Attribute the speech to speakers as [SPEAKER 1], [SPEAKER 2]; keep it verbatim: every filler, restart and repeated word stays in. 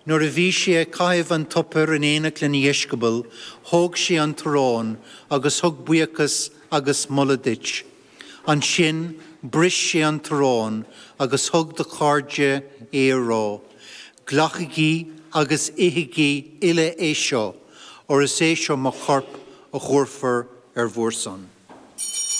[SPEAKER 1] Nuair a bhí sé ag caitheamh an tsuipéir in éineacht lena dheisceabail, thóg sé an t-arán agus thug buíochas agus moladh duit. Ansin bhris sé an t-arán agus thug dá chairde é á rá, Glacaigí agus ithigí uile é seo, óir is é seo mo chorp a thabharfar ar bhur son.